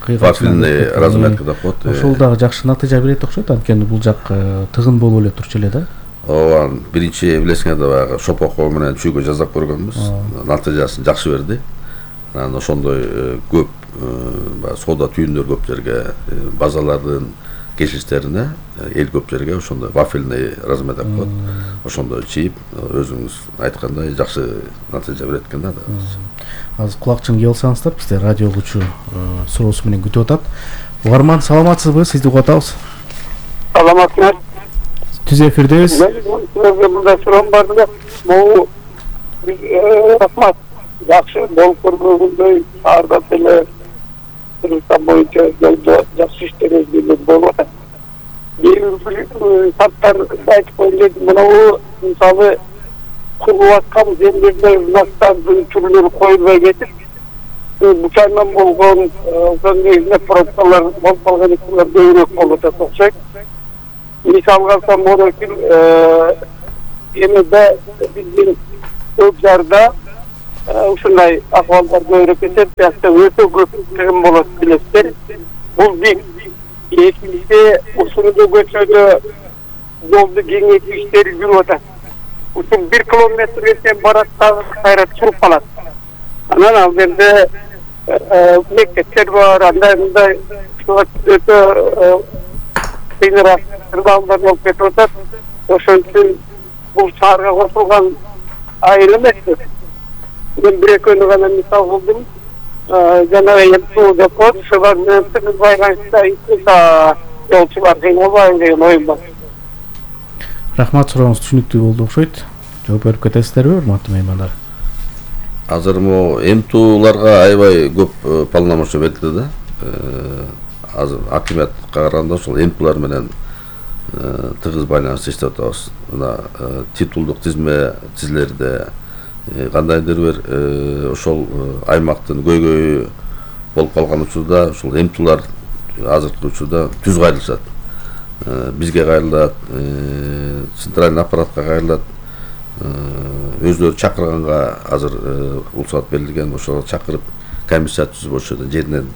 вафельный разметка деп коет. Ошол дагы жакшы натыйжа берет окшойт, анткени бул жак тыгын болуп эле турчу эле да. Ооба, биринчи билесиңер да баягы шопокко менен чүйгө жасап көргөнбүз. Натыйжасын жакшы берди. Анан ошондой көп баягы соода түйүндөр көп жерге, базалардын кесилиштерине, эл көп жерге ошондой вафельный размер деп коет. Ошондой чийип, өзүңүз айткандай жакшы натыйжа берет экен да. Азыр кулакчын кип алсаңыздар, бизде радио угуучу суроосу менен күтүп атат. Угарман, саламатсызбы? Сизди угуп атабыз. Саламатсызбы? Түз эфирдебиз. Сизге мындай суроом бар эле. Могу рахмат. Жакшы болуп көргөндөй шаарда деле Кыргызстан боюнча жакшы иштер өзгөрүп болуп атат. Бир саттар айтып коюлду, мынабу мисалы курулуп аткан жерлерде настардын түрлөрү коюлбай кетип, бучайдан болгон ошонун негизинде пробкалар болуп калган экенлер көбүрөөк болуп атат окшойт. Мисалга алсам болот экен, эмеде биздин көп жарда ушундай акыбалдар көбүрөөк кетет, бияқта өтө көп тыгын болот билесиздер. Бул бир. Экинчиси, ушундай көчөдө жолду кеңейтүү иштери жүрүп атат. Ушул бир километрге барат дагы кайра чуруп калат. Анан ал жерде мектептер бар, андай мындай өтө кыйыныраак кырдаалдар болуп кетип атат. Ошон үчүн бул шаарга кошулган айыл эмес. Мен бир экөөнү гана мисал кылдым. Жана эмту деп коет, ушулар менен тыгыз байланышта жолчулар кыйналбайбы деген оюм бар. Рахмат, сурооңуз түшүнүктүү болду окшойт. Жооп берип кетесиздерби, урматтуу меймандар? Азыр могу эмтуларга аябай көп полномочия берилди да. Азыр акимиятка караганда ошол эмтулар менен тыгыз байланышта иштеп атабыз. Мына титулдук тизме тизилерде кандайдыр бир ошол аймактын көйгөйү болуп калган учурда ошол эмтулар азыркы учурда түз кайрылышат. Бизге кайрылат, центральный аппаратка кайрылат. Өздөрү чакырганга азыр уруксат берилген, ошого чакырып комиссия түзүп ошол жеринен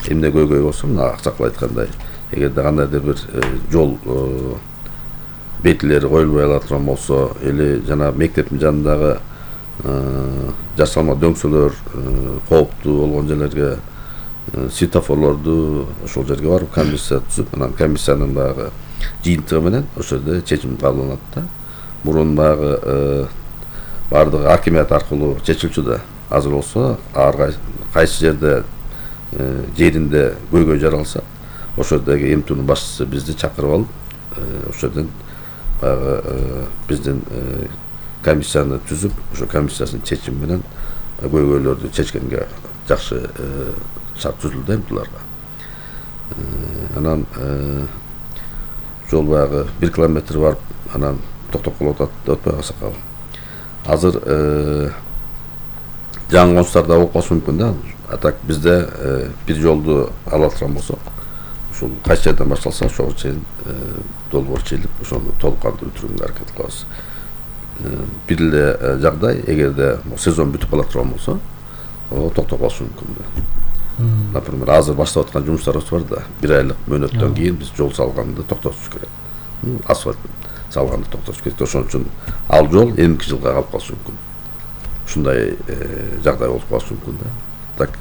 эмне көйгөй болсо, мына акчакыл айткандай, эгерде кандайдыр бир жол бетилери коюлбай алаткан болсо, или жана мектептин жанындагы жасалма дөңсөлөр кооптуу болгон жерлерге светофорлорду ошол жерге барып комиссия түзүп, анан комиссиянын баягы жыйынтыгы менен ошол жерде чечим кабылданат да. Мурун баягы бардыгы акимият аркылуу чечилчү да. Азыр болсо ар кайсы жерде жеринде көйгөй жаралса, ошол жердеги эмтунун башчысы бизди чакырып алып, ошол жерден баягы биздин комиссияны түзүп, ошо комиссиясынын чечими менен көйгөйлөрдү чечкенге жакшы шарт түзүлдү эмтуларга. Анан жол баягы бир километр барып, анан токтоп калып атат деп атпайбы аксакал. Азыр жаңы конустарда болуп калышы мүмкүн да. А так бизде бир жолду ала турган болсок, ушул кайсы жерден башталса ошого чейин долбоор чыйылып, ошону толук кандуу бүтүрүүгө аракет кылабыз. Бир эле жагдай, эгерде сезон бүтүп кала турган болсо, токтоп калышы мүмкүн да. Например, азыр баштап аткан жумуштарыбыз бар да, бир айлык мөөнөттөн кийин биз жол салганды токтотуш керек. Асфальт салганды токтотуш керек. Ошон үчүн ал жол эмки жылга калып калышы мүмкүн. Ушундай жагдай болуп калышы мүмкүн да. Так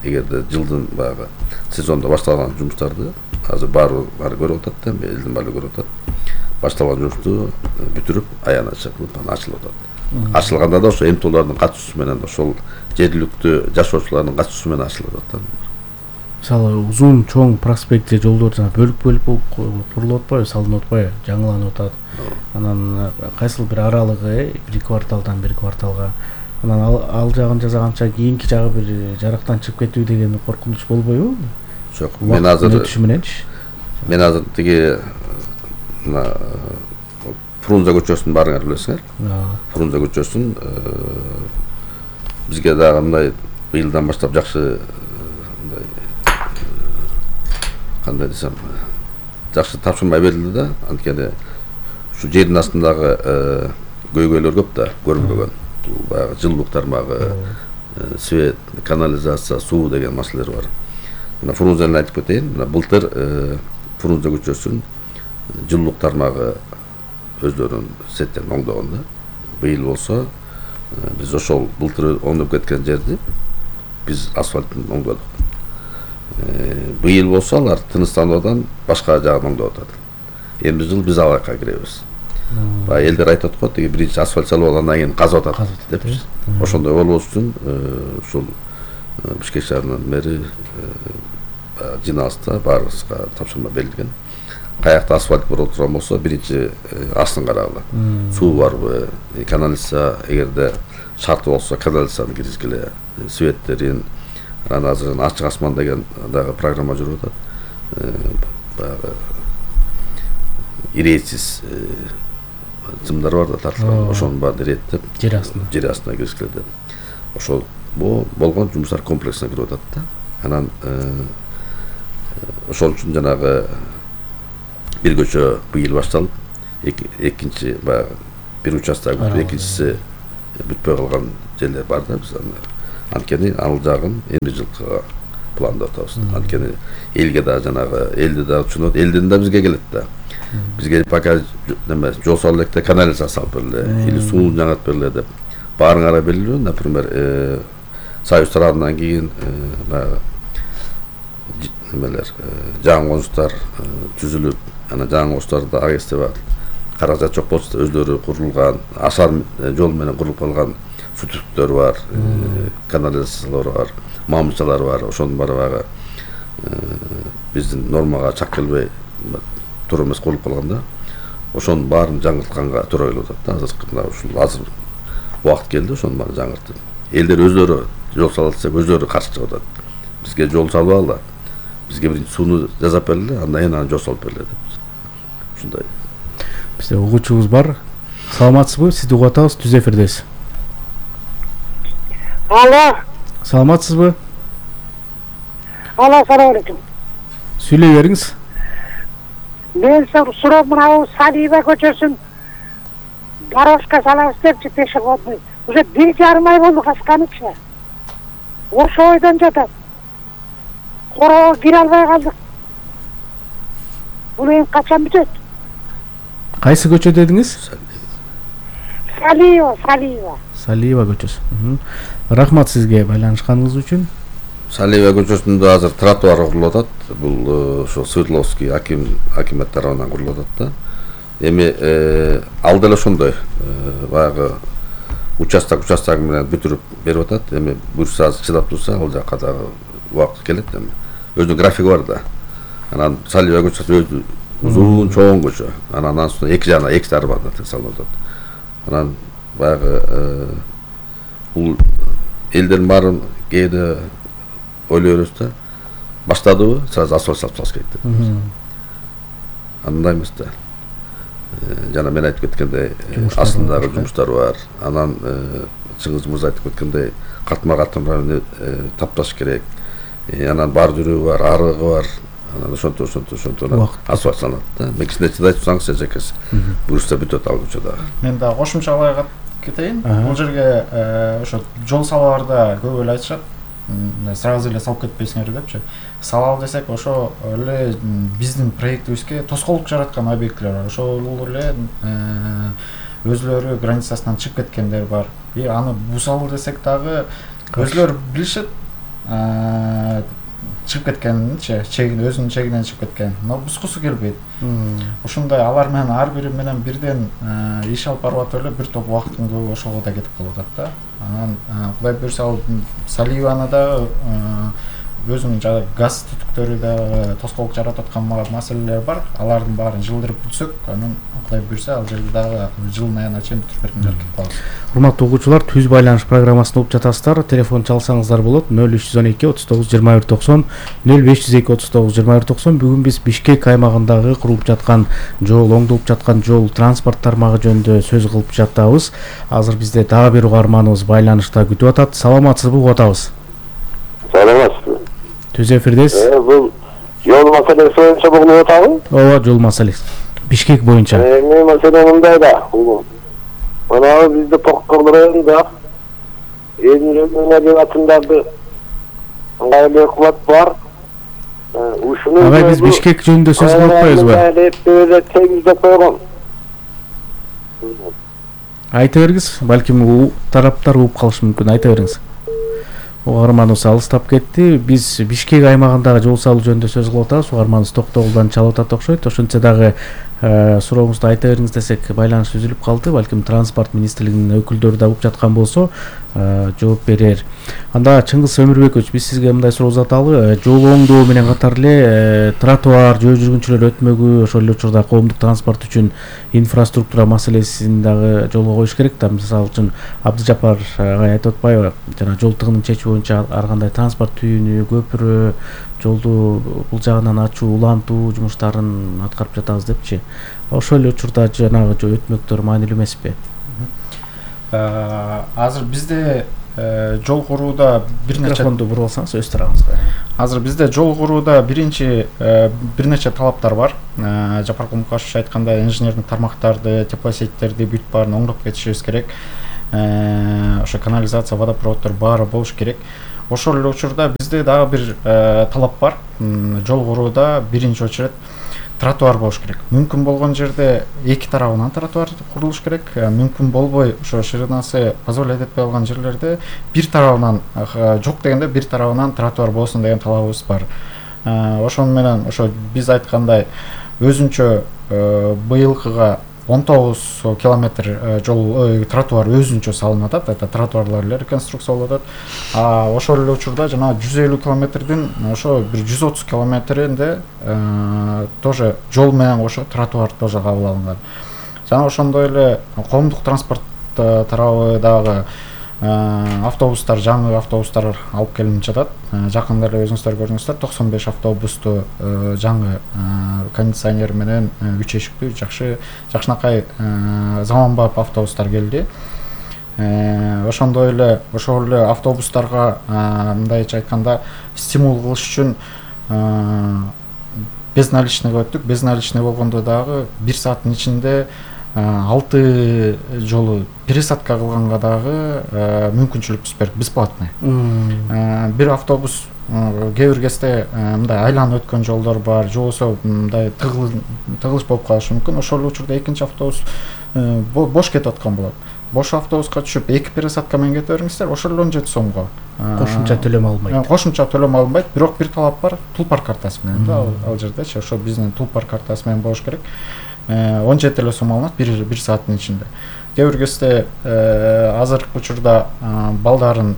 эгерде жылдын баягы сезондо башталган жумуштарды азыр баары баары көрүп атат да, элдин баары көрүп атат. Башталган жумушту бүтүрүп, аянат чыкып, ачылып атат. Ачылганда да ошо эмтулардын катышуусу менен, ошол жергиликтүү жашоочулардын катышуусу менен ачылып атат да. Мисалы узун чоң проспект же жолдор жана бөлүк-бөлүк болуп курулуп атпайбы, салынып атпайбы, жаңыланып атат. Анан кайсыл бир аралыгы бир кварталдан бир кварталга, анан ал, ал жагын жасаганча кийинки жагы бир жарактан чыгып кетүү деген коркунуч болбойбу? Жок, мен азыр өтүшү мененчи. Мен азыр тиги мына Фрунзе көчөсүн баарыңар билесиңер. Фрунзе көчөсүн бизге дагы мындай быйылдан баштап жакшы мындай кандай десем жакшы тапшырма берилди да. Анткени ушу жердин астындагы көйгөйлөр көп да, көрүнбөгөн. Бул баягы жылуулук тармагы, свет, канализация, суу деген маселелер бар. Мына Фрунзени айтып кетейин. Мына былтыр Фрунзе көчөсүн жылуулук тармагы өздөрүнүн сеттен оңдогон да. Быйыл болсо биз ошол былтыр оңдоп кеткен жерди биз асфальттын оңдодук. Быйыл болсо алар Тыныстануудан башка жагын оңдоп атат. Эми жыл биз ал жакка киребиз. Баягы элдер айтат го, тиги биринчи асфальт салып алгандан кийин казып атат депчи. Ошондой болбош үчүн ушул Бишкек шаарынын мэри жиналышта баарыбызга тапшырма берилген. Каякта асфальт боло турган болсо биринчи астын карагыла. Суу барбы, канализация эгерде шарты болсо канализацияны киргизгиле, светтерин, анан азыр ачык асман деген дагы программа жүрүп атат. Баягы ирээсиз жымдар бар да тартылган, ошонун баарын иреттеп жер астына жер астына киргизгиле деп. Ошол болгон жумуштар комплексине кирип атат да. Анан ошол үчүн жанагы бир көчө быйыл башталып, экинчи баягы бир участок, экинчиси бүтпөй калган жерлер бар да. Биз анткени ал жагын эми жылкыга пландап атабыз. Анткени элге да жанагы элди да түшүнөт, элден да бизге келет да. Бизге пока неме жол салып электе канализация салып бергиле, или сууну жаңыртып бергиле деп баарыңара белгилүү. Например, Союз тарабынан кийин баягы немелер жаңы конуштар түзүлүп, анан жаңы конуштарда АГС бар. Каражат жок болсо өздөрү курулган, ашар жол менен курулуп калган сүтүктөр бар, канализациялар бар, мамычалар бар. Ошонун баары баягы биздин нормага чак келбей туура эмес курулуп калганда, ошонун баарын жаңыртканга туура келип атат да. Азыр мына ушул азыр убакыт келди, ошонун баарын жаңыртып. Элдер өздөрү жол салат десек, өздөрү каршы чыгып атат. Бизге жол салып алгыла, бизге биринчи сууну жасап бергиле, андан кийин аны жол салып бергиле деп. Ушундай. Бизде угуучубуз бар. Саламатсызбы? Сизди угуп атабыз, түз эфирдесиз. Алло. Саламатсызбы? Алло, салам алейкум. Сүйлөй бериңиз. Мен суроо мына Салиева көчөсүн дорожка салабыз депчи, пешеходный. Уже бир жарым ай болду качканычы. Ошо ойдон жатат. Короо кире албай калдык. Бул эми качан бүтөт? Кайсы көчө дедиңиз? Салиева, Салиева. Салиева көчөсү. Рахмат сизге байланышканыңыз үчүн. Салиева көчөсүндө азыр тротуар курулуп атат. Бул ошо Свердловский аким акимет тарабынан курулуп атат да. Эми ал деле ошондой баягы участок участок менен бүтүрүп берип атат. Эми буюрса азыр чыдап турса, ал жакка дагы убакыт келет эми. Өзүнүн графиги бар да. Анан Салиева көчөсү өзү узун чоң көчө. Анан анын үстүнө эки жагына эки тарабына салынып атат. Анан баягы бул элдердин баарын кээде ойлой беребиз да. Баштадыбы, сразу асфальт салып салыш керек деп. Андай эмес да. Жана мен айтып кеткендей, астындагы жумуштар бар. Анан Чыңгыз мырза айтып кеткендей, катмар катмар тапташ керек. Анан бар жүрүү бар, арыгы бар. Анан ошонто ошонто ошонто асфальт салынат да. Мен кичине чыдай турсаңыз эжекеси. Буюрса бүтөт ал көчө дагы. Мен дагы кошумчалай кетейин. Бул жерге ошо жол салууларда көп эле айтышат. Сразу эле салып кетпейсиңер депчи. Салалы десек, ошо эле биздин проектибизге тоскоолдук жараткан объектилер бар. Ошол эле өзлөрү границасынан чыгып кеткендер бар. И аны бусалы десек дагы өзлөрү билишет. Чыгып кеткенинчи, чегин өзүнүн чегинен чыгып кеткен. Но бускусу келбейт. Ошондой алар менен ар бири менен бирден иш алып барып атып эле бир топ убакыттын көбү ошого да кетип калып атат да. Анан Кудай буйрса Салиеваны да өзүнүн жана газ түтүктөрү да тоскоолдук жаратып аткан маселелер бар. Алардын баарын жылдырып бүтсөк, анан Кудай буйрса ал жерде дагы жылдын аягына чейин бүтүрүп бергенге аракет кылабыз. Урматтуу угуучулар, түз байланыш программасын угуп жатасыздар. Телефон чалсаңыздар болот. нөл үч жүз он эки отуз тогуз жыйырма бир токсон, нөл беш жүз эки отуз тогуз жыйырма бир токсон. Бүгүн биз Бишкек аймагындагы курулуп жаткан жол, оңдолуп жаткан жол, транспорт тармагы жөнүндө сөз кылып жатабыз. Азыр бизде дагы бир угарманыбыз байланышта күтүп атат. Саламатсызбы, угуп атабыз. Саламатсызбы. Түз эфирдесиз. Э, бул жол маселеси боюнча угунуп атабы? Ооба, жол маселеси. Бишкек боюнча. Эми маселе мындай да, угун. Мына бизде Токкор районунда Эдин атындагы ыңгайлуу кылат бар. Ушуну Агай, биз Бишкек жөнүндө сөз кылып атпайбызбы? Тегиздеп койгон. Айта бергиз, балким тараптар угуп калышы мүмкүн. Айта бериңиз. Угарманыбыз алыстап кетти. Биз Бишкек аймагындагы жол салуу жөнүндө сөз кылып атабыз. Угарманыбыз токтогулдан чалып атат окшойт. Ошентсе дагы сурооңузду айта бериңиз десек, байланыш үзүлүп калды. Балким транспорт министрлигинин өкүлдөрү да угуп жаткан болсо, жооп берер. Анда Чыңгыз Өмүрбекович, биз сизге мындай суроо узаталы. Жол оңдоо менен катар эле тротуар, жөө жүргүнчүлөр өтмөгү, ошол эле учурда коомдук транспорт үчүн инфраструктура маселесин дагы жолго коюш керек да. Мисалы үчүн Абдыжапар агай айтып атпайбы? Жана жол тыгынын чечүү боюнча ар кандай транспорт түйүнү, көпүрө, жолду бул жагынан ачуу, улантуу жумуштарын аткарып жатабыз депчи. Ошол эле учурда жанагы өтмөктөр маанилүү эмеспи? Азыр бизде жол курууда бир нече микрофонду буруп алсаңыз өз тарабыңызга. Азыр бизде жол курууда биринчи бир нече талаптар бар. Жапар Кумукашевич айткандай, инженердик тармактарды, теплосеттерди бүт баарын оңдоп кетишибиз керек. Ошо канализация, водопроводдор баары болуш керек. Ошол эле учурда бизде дагы бир талап бар. Жол курууда биринчи очередь тротуар болуш керек. Мүмкүн болгон жерде эки тарабынан тротуар курулуш керек. Мүмкүн болбой, ошо ширинасы позволять этпей калган жерлерде бир тарабынан, жок дегенде бир тарабынан тротуар болсун деген талабыбыз бар. Ошону менен ошо биз айткандай өзүнчө быйылкыга он тогуз километр жол тротуар өзүнчө салынып атат. Это тротуарлар эле реконструкцияланып атат. А ошол эле учурда жана жүз элүү километрдин ошо бир жүз отуз километринде тоже жол менен кошо тротуар тоже кабыл алынган. Жана ошондой эле коомдук транспорт тарабы дагы автобустар, жаңы автобустар алып келинип жатат. Жакында эле өзүңүздөр көрдүңүздөр, токсон беш автобусту жаңы кондиционер менен үч эшиктүү жакшы жакшынакай заманбап автобустар келди. Ошондой эле ошол эле автобустарга мындайча айтканда стимул кылыш үчүн безналичныйга өттүк. Безналичный болгондо дагы бир сааттын ичинде алты жолу пересадка кылганга дагы мүмкүнчүлүк берип, бесплатный. Бир автобус кээ бир кезде мындай айланып өткөн жолдор бар, же болбосо мындай тыгылыш болуп калышы мүмкүн. Ошол учурда экинчи автобус бош кетип аткан болот. Бош автобуска түшүп эки пересадка менен кете бериңиздер, ошол эле он жети сомго. Кошумча төлөм алынбайт. Кошумча төлөм алынбайт, бирок бир талап бар, Тулпар картасы менен да, ал жердечи, ошо биздин Тулпар картасы менен болуш керек. он жети эле сом алынат бир бир сааттын ичинде. Кээ бир кезде азыркы учурда балдарын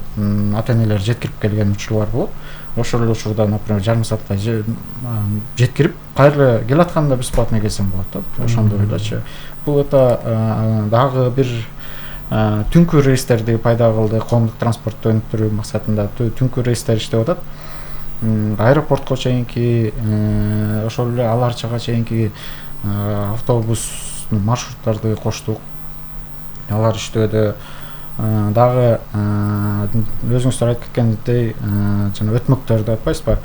ата-энелер жеткирип келген учурлар болот. Ошол эле учурда, например, жарым саатта жеткирип, кайра келатканда бесплатно келсем болот да. Ошондой элечи. Бул это дагы бир түнкү рейстерди пайда кылды, коомдук транспортду өнүктүрүү максатында түнкү рейстер иштеп атат. Аэропортко чейинки, ошол эле Ала Арчага чейинки автобус маршруттарды коштук. Алар иштөөдө. Дагы өзүңүздөр айтып кеткендей, жана өтмөктөрдү айтпайсызбы?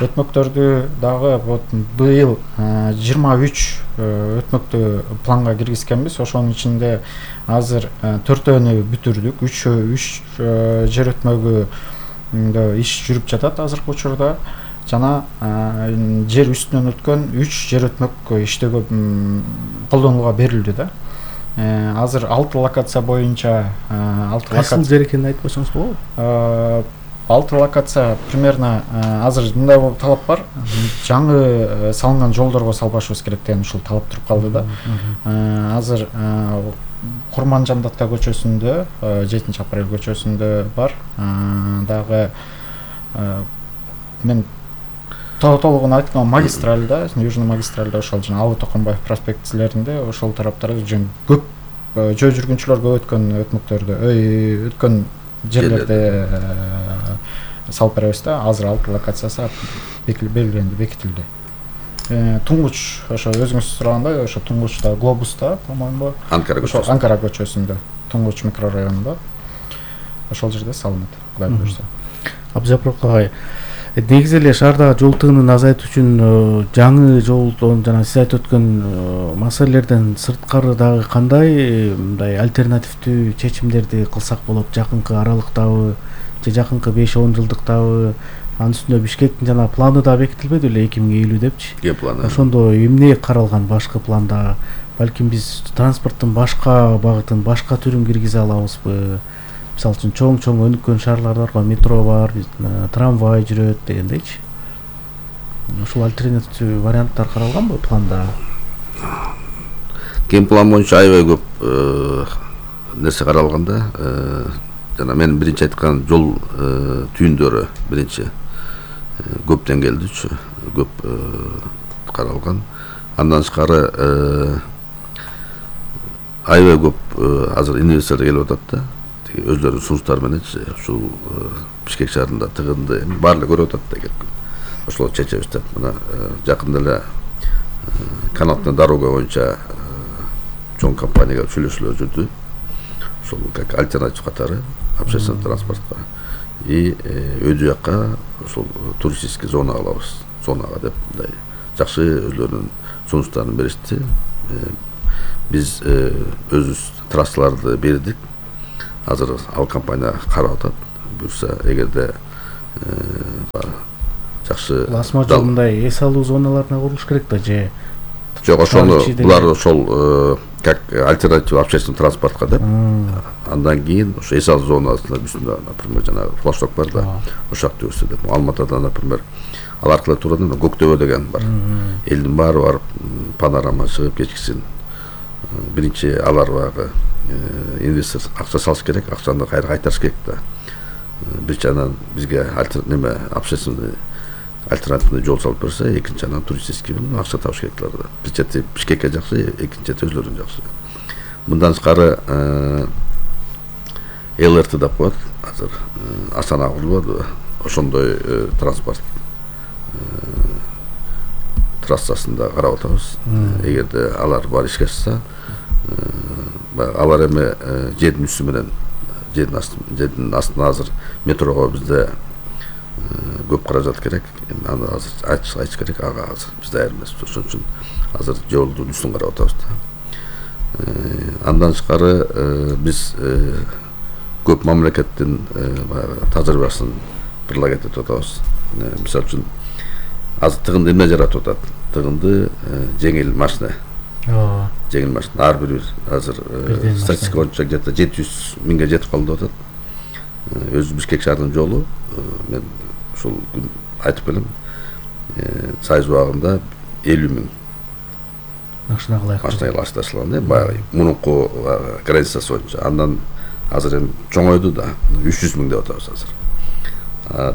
Өтмөктөрдү дагы вот быйыл жыйырма үч өтмөктү планга киргизгенбиз. Ошонун ичинде азыр төртөөнү бүтүрдүк. үч үч жер өтмөгү иш жүрүп жатат азыркы учурда. Жана жер үстүнөн өткөн үч жер өтмөк иштөөгө колдонууга берилди да. Азыр алты локация боюнча алты локация. Кайсыл жер экенин айтып койсоңуз болобу? алты локация примерно азыр мындай талап бар. Жаңы салынган жолдорго салбашыбыз керек деген ушул талап туруп калды да. Азыр Курманжамдатка көчөсүндө, жетинчи апрель көчөсүндө бар. Дагы мен толугун айткан магистральда, южный магистральда ошол жана Албы Токомбаев проспектилеринде ошол тараптарда жөн көп жөө жүргүнчүлөр көп өткөн өтмөктөрдө, өткөн жерлерде салып беребиз да. Азыр алты локациясы белгиленди, бекитилди. Туңгуч, ошо өзүңүз сурагандай, ошо Туңгучта, Глобуста, по-моему, Анкара көчөсүндө. Анкара көчөсүндө, Туңгуч микрорайонунда. Ошол жерде салынат, Кудай буйрса. Абзапыров агай, негизи эле шаардагы жол тыгынын азайтуу үчүн жаңы жолдон жана сиз айтып өткөн маселелерден сырткары дагы кандай мындай альтернативдүү чечимдерди кылсак болот жакынкы аралыктабы же жакынкы беш он жылдыктабы? Анын үстүнө Бишкектин жана планы да бекитилбеди эле эки миң элүү депчи. Ге планы. Ошондо эмне каралган башкы планда? Балким биз транспорттун башка багытын, башка түрүн киргизе алабызбы? Мисалы үчүн чоң-чоң өнүккөн шаарлар бар, метро бар, трамвай жүрөт дегендейчи. Ушул альтернативдүү варианттар каралганбы планда? Ген план боюнча аябай көп нерсе каралган да. Жана мен биринчи айткан жол түйүндөрү биринчи көп деңгээлдүүчү, көп каралган. Андан тышкары аябай көп азыр инвесторлор келип атат да. Өзлөрүнүн сунуштары менен ушул Бишкек шаарында тыгынды баарлыгы көрүп атат да келип. Ошолорду чечебиз деп мына жакында эле канатный дорога боюнча чоң компанияга сүйлөшүүлөр жүрдү. Ошол как альтернатив катары общественный транспортко и өйдү жакка ошол туристический зона алабыз. Зонага деп мындай жакшы өзлөрүнүн сунуштарын беришти. Биз өзүбүз трассаларды бердик. Азыр ал компания карап атат. Буюрса эгерде жакшы Асма жолундай эс алуу зоналарына курулуш керек да же жок, ошону булар ошол как альтернатива общественный транспортко деп. Андан кийин ошо эс алуу зонасына үстүндө, например, жанагы флашток бар да, ошол жакты өсө деп. Алматыда, например, ал аркылуу турган Көктөбө деген бар. Элдин баары барып панорама чыгып кечкисин. Биринчи алар багы инвестор акча салыш керек, акчаны кайра кайтарыш керек да. Бир жагынан бизге неме общественный альтернативный жол салып берсе, экинчи жагынан туристический акча табыш керектер да. Бир чети Бишкекке жакшы, экинчи чети өзлөрүнө жакшы. Мындан тышкары ЛРТ деп коет. Азыр Астана курулбаду. Ошондой транспорт трассасында карап атабыз. Эгерде алар бар ишке ашса, алар эми жердин үстү менен жердин астына азыр метрого бизде көп каражат керек. Аны азыр айтыш айтыш керек, ага азыр бизде даяр эмес. Ошон үчүн азыр жолдун үстүн карап атабыз да. Андан тышкары биз көп мамлекеттин тажрыйбасын прилагать этип атабыз. Мисалы үчүн азыр тыгынды эмне жаратып атат? Тыгынды жеңил машина. Жеңил машина ар бир азыр статистика боюнча где-то жети жүз миңге жетип калды деп атат. Өзү Бишкек шаарынын жолу мен ушул күн айтып келем. Сайыз убагында элүү миң машина ташталган. Баягы мурунку границасы боюнча. Андан азыр эми чоңойду да, үч жүз миң деп атабыз азыр.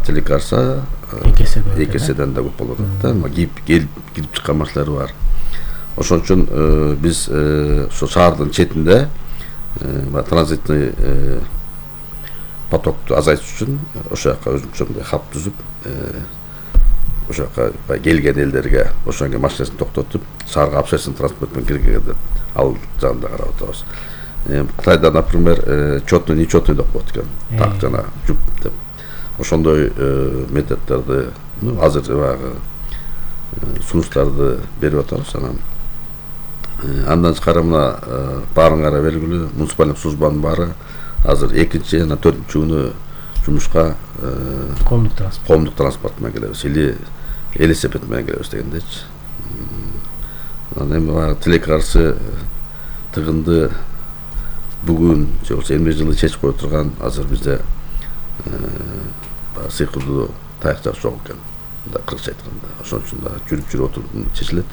Тили караса эки эседен да көп болуп атат да. Кирип кирип чыккан машиналар бар. Ошон үчүн биз ошо шаардын четинде транзитный потокту азайтыш үчүн ошол жака өзүнчө мындай хаб түзүп, ошол жака келген элдерге ошонго машинасын токтотуп, шаарга общественный транспорт менен киргенге деп ал жагында карап атабыз. Кытайда, например, четный, нечетный деп коет экен. Так жана жуп деп. Ошондой методдорду азыр баягы сунуштарды берип атабыз. Анан андан тышкары мына баарыңарга белгилүү муниципалдык службанын баары азыр экинчи жана төртүнчү күнү жумушка коомдук транспорт коомдук транспорт менен келебиз или велосипед менен келебиз дегендечи. Анан эми баягы тилекке каршы тыгынды бүгүн же болбосо эмне жылы чечип кое турган азыр бизде сыйкырдуу таякчак жок экен. Да кыргызча айтканда. Ошон үчүн да жүрүп жүрүп отуруп чечилет.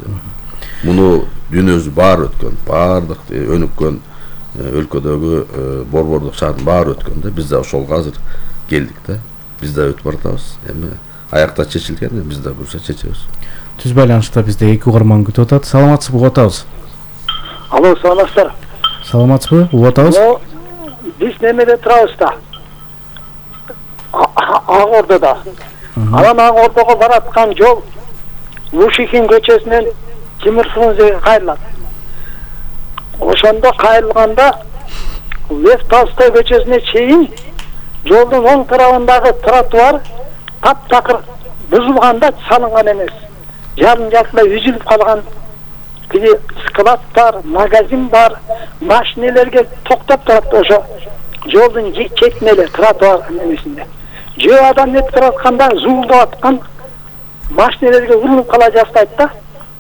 Муну дүйнөбүз баары өткөн, баардык өнүккөн өлкөдөгү борбордук шаардын баары өткөн да. Биз да ошолго азыр келдик да. Биз да өтүп баратабыз. Эми аякта чечилген, биз да буюрса чечебиз. Түз байланышта бизде эки угарман күтүп атат. Саламатсызбы, угуп атабыз. Алло, саламатсыздар. Саламатсызбы, угуп атабыз. Биз немеде турабыз да. Ак Ордода. Анан Ак Ордого бараткан жол Лушихин көчөсүнөн Тимир Фрунзеге кайрылат. Ошондо кайрылганда Лев Толстой көчөсүнө чейин жолдун оң тарабындагы тротуар таптакыр бузулганда салынган эмес. Жарым жартылай үзүлүп калган. Тиги склад бар, магазин бар, машинелерге токтоп турат ошо жолдун четине эле тротуар эмесинде. Жөө адам өтүп атканда зуулдап аткан машинелерге урулуп кала жаздайт да.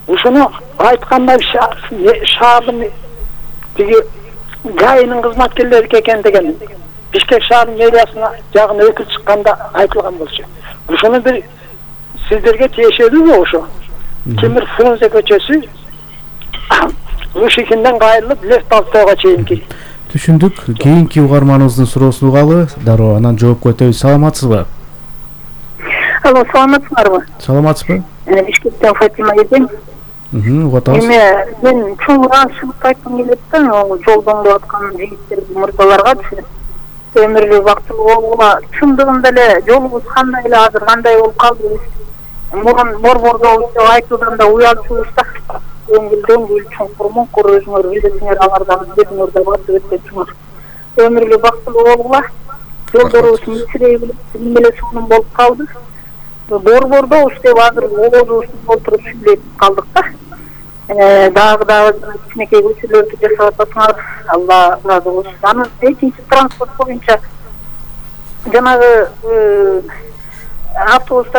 Ушуну айткандай шаардын тиги гайынын кызматкерлери экен деген Бишкек шаарынын мэриясына жагына өкүл чыкканда айтылган болчу. Ушуну бир сиздерге тиешелүүбү ошо? Тимир Фрунзе көчөсү Лушихинден кайрылып Лев Толстойго чейинки. Түшүндүк. Кийинки угарманыбыздын суроосун угалы, дароо анан жоопко өтөбүз. Саламатсызбы? Алло, саламатсыздарбы? Саламатсызбы? Бишкектен Фатима эдем. Мм, угуп атабыз. Эме, мен чоңураак чыгып айткым келет да, жолдон болуп аткан жигиттерге, мырзаларгачы. Өмүрлүү бактылуу болгула. Чындыгында эле жолубуз кандай эле азыр кандай болуп калды. Мурун борбордо айтуудан да уялчубуз да. Өңгүлдөн гүл чоңкур моңкур өзүңөр билесиңер, алардан биринер да басып өткөнсүңөр. Өмүрлүү бактылуу болгула. Жолдорубуз мичирей биле сонун болуп калды. Борбордо уштеп азыр оозубузду толтуруп сүйлөп калдык да. Дагы дагы кичинекей көчөлөрдү жасап атасыңар. Алла разы болсун. Анан экинчи транспорт боюнча жанагы автобустар